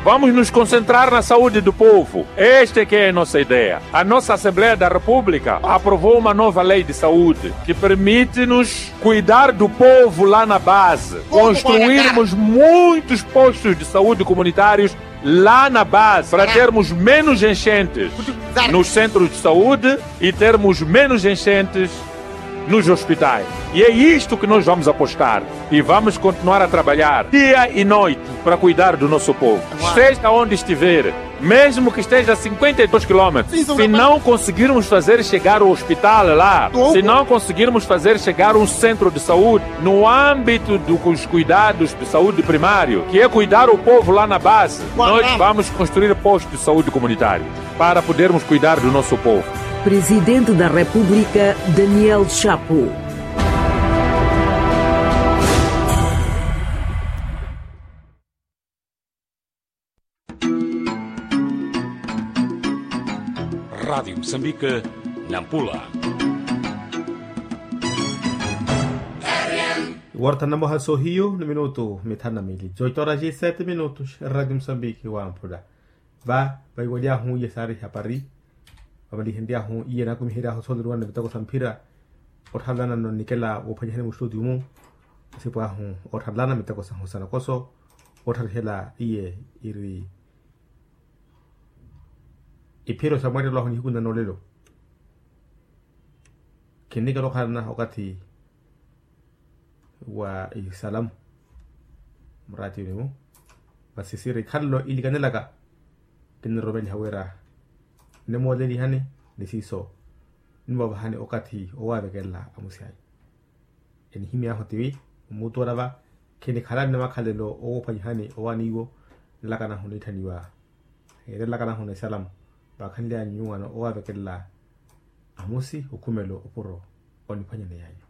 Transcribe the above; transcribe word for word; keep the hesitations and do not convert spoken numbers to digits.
Vamos nos concentrar na saúde do povo. Esta é que é a nossa ideia. A nossa Assembleia da República aprovou uma nova lei de saúde que permite-nos cuidar do povo lá na base, construirmos muitos postos de saúde comunitários lá na base, para termos menos enchentes nos centros de saúde e termos menos enchentes nos hospitais. E é isto que nós vamos apostar. E vamos continuar a trabalhar dia e noite para cuidar do nosso povo. Esteja onde estiver, mesmo que esteja a cinquenta e dois quilômetros, se não conseguirmos fazer chegar o hospital lá, se não conseguirmos fazer chegar um centro de saúde, no âmbito dos cuidados de saúde primário, que é cuidar o povo lá na base, nós vamos construir postos de saúde comunitário para podermos cuidar do nosso povo. Presidente da República, Daniel Chapo. Rádio Moçambique, Nampula. Iwortana moha sohiyu ni minutu mithanu na mili, oito horas e sete minutos. Rádio Moçambique wa Nampula. Va vaiwelyahu iye saari hapari, vavalihenryahu iye naakumiheryahu sooliruwana miteko sa mphira. Otthalana nonnikela woophwanyihani mustutiyu-mu, asipu ahu otthalana miteko sahu sa nokoso. Ottharihela iye iri iphiro sa mweerelo ahu nihiku nna noolelo. Khinnikela okhalana okathi wa isalamu muraatiyuni-mu. Masi siri khalelo ilikanelaka, kinniromeliha wira nimoolelihani ni siiso, nimoovahani okathi owaavekelela amusi anyu. Enihimy'ahu tiwi omuutu olava, khinikhalani ni makhalelo owoophwanyihani owaani iwo, nlakanahu niitthaniwa, nlakanahu na isalamu, vaakhanly'anyu nyuwaano owaavekelela amusi okhumelo opuro oniphwanyaneya anyu.